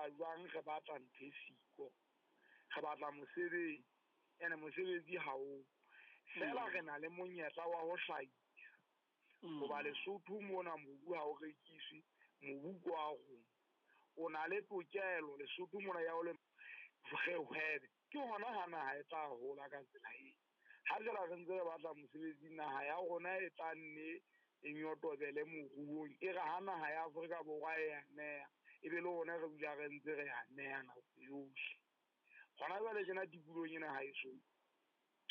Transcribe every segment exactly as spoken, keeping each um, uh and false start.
etsa jwang re batla ntho e siko. Re batla mosebetsi, ene mosebetsi ha o. Feela re na le monyetla wa ho hlahisa. Hoba Lesotho mona mobu ha o rekiswe, mobu ke wa rona. O na le tokelo Lesotho mona ya ho le re hwebe. Ke hona ha naha e tla hola ka tsela eo. Ha jwale re ntse re batla mosebetsi, naha ya rona e tla nne e nyotobele moruong. E re ha naha ya Afrika Borwa e a neha, e be le rona re dula re ntse re a neha nako yohle. Hona jwale tjena tikolohong ena haeso,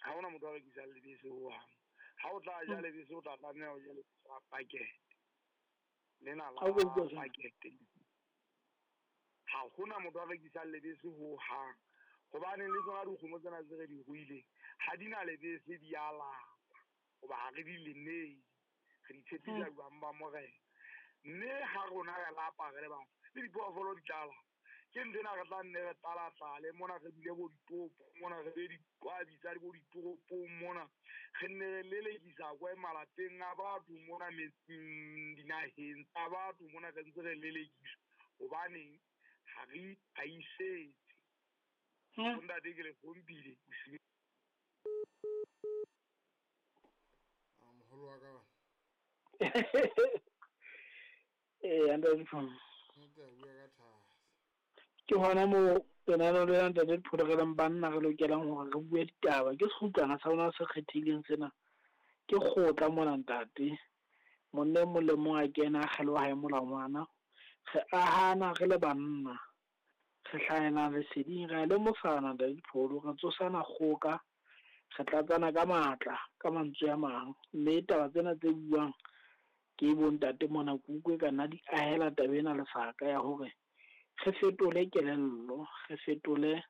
ha hona motho a rekisang lebese hohang. Ha o tla ja lebese, o tla tlameha ho ja lebese la pakete. Lena la pakete. Ha hona motho a rekisang lebese hohang. Hobane le tsona dikgomo tsena tse re di ruileng, ha di na lebese di a lapa. Hoba ha re di lemele, re di tshepisa jwang ba morena. Mme ha rona re lapa re le batho, le diphoofolo di tla lapa. Ke ntho ena re tla nne re tlala-tlale mona, re dule bo ditoropong mona, re be diqwabi tsa bo ditoropong mona, re nne re lelekisa kwa malapeng a batho mona, metseng, dinaheng tsa batho mona, re ntse re lelekiswa. Hobaneng ha re itlhahisetse. Ntate ke le hlompile bosiu. A moholo wa ka bana. Eh, ntate Dipholo. Ntate a bua ka thata. Ke hona moo lenaneo lena ntate Dipholo re leng banna re lokelang hore re bue ditaba. Ke sekgutlwana sa rona se kgethehileng sena. Ke kgotla mona ntate. Monna e mong le mong a kena a kgeloha hae molangwana. Re ahana re le banna. Re hlahela leseding, re a lemosana ntate Dipholo, re tsosana kgoka, re tlatsana ka matla, ka mantswe a mang. Mme taba tsena tse buang ke bontate mona ke utlwe ka nna di ahela taba ena lesaka ya hore re fetole kelello, re fetole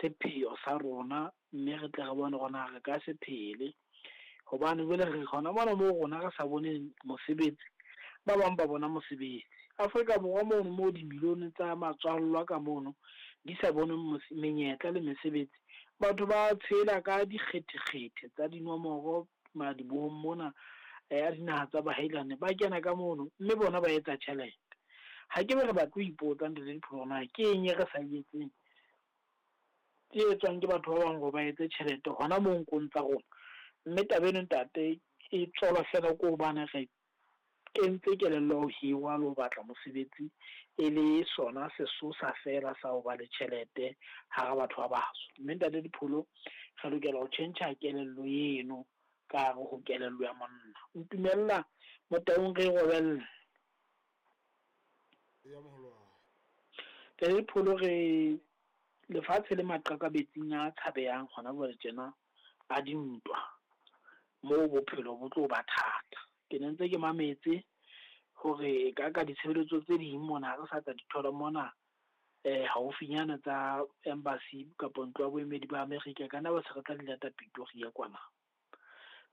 sepheo sa rona, mme re tle re bone hore na re ka se phele. Hobane jwale re hona mona moo rona re sa boneng mosebetsi, ba bang ba bona mosebetsi. Afrika Borwa mono moo dimilione tsa matswallwa ka mono di sa boneng menyetla le mesebetsi, batho ba tshela ka dikgethekgethe tsa dinomoro madibohong mona ya dinaha tsa bahailane, ba kena ka mono mme bona ba etsa tjhelete. Ha ke be re batle ho ipotsa ntate Dipholo na ke eng e re sa e etseng e etswang ke batho ba bang hore ba etse tjhelete hona moo nkong tsa rona. Mme taba eno ntate e tswalwa feela ke hobane re kentse kelello ya ho hirwa le ho batla mosebetsi e le sona sesosa feela sa ho ba le tjhelete hara batho ba batsho. Mme ntate Dipholo re lokela ho tjhentjha kelello eno ka hare ho kelello ya monna. Ntumella Motaung re robelle. Ya moholo wa. Ntate Dipholo re lefatshe le maqakabetsing a tshabehang hona jwale tjena a dintwa moo bophelo bo tlo ba thata. Ke ne ntse ke mametse hore ka ka ditshebeletso tse ding mona re sa tla di thola mona eh haufinyana tsa embassy kapa ntlo ya boemedi ba Amerika, kana ba se re tla di lata Pretoria kwana.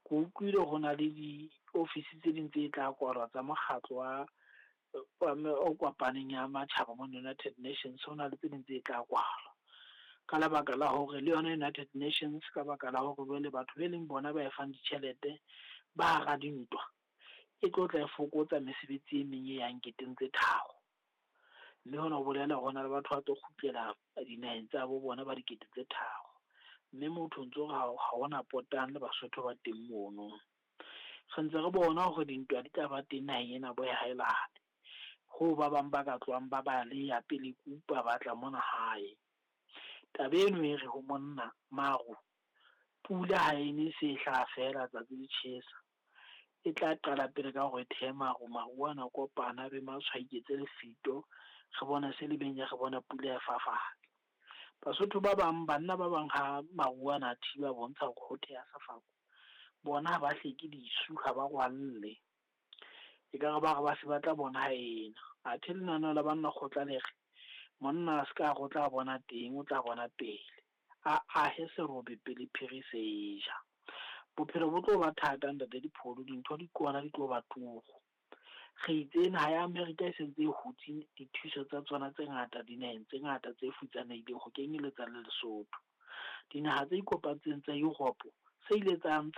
Ke utlwile ho na le di-office tse ding tse tla kwalwa tsa mokgatlo wa o kopaneng ya matjhaba mona United Nations, ho na le tse ding tse tla kwalwa ka lebaka la hore le yona United Nations, ka baka la hore jwale batho be leng bona ba e fang ditjhelete ba hara dintwa, e tlo tla e fokotsa mesebetsi e meng e yang keteng tse tharo. Mme hona ho bolela hore hona le batho ba tlo kgutlela dinaheng tsa bo bona ba dikete tse tharo. Mme motho ntso re ha hona potang le Basotho ba teng mono. Re ntse re bona hore dintwa di tla ba teng naheng ena bo haelane. Ho ba bang ba ka tlohang ba baleha pele kupa ba tla mona hae. Taba eno e re ho monna maru, pula ha e ne se hlaha feela tsatsi le tjhesa. E tla qala pele ka hore thehe maru, maru ana kopana be matshwaiketse lefito, re bona se le benya, re bona pula e fafatsa. Basotho ba bang, banna ba bang ha maru ana a thiba bontsha hore ho theha sefako, bona ha ba hleke disu, ha ba rwalle. Ekare ba re ba se ba tla bona ha ena. Athe lenaneo la banna kgotla le re monna a se ka re o tla bona teng, o tla bona pele. A ahe serobe pele phiri se e ja. Bophelo bo tlo ba thata ntate Dipholo, dintho di kwana di tlo ba turu. Re itse naha ya Amerika e sentse e hutse dithuso tsa tsona tse ngata dinaheng tse ngata tse futsanehileng ho kenyeletsa le Lesotho. Dinaha tse ikopantseng tsa Europe se ile tsa ntsha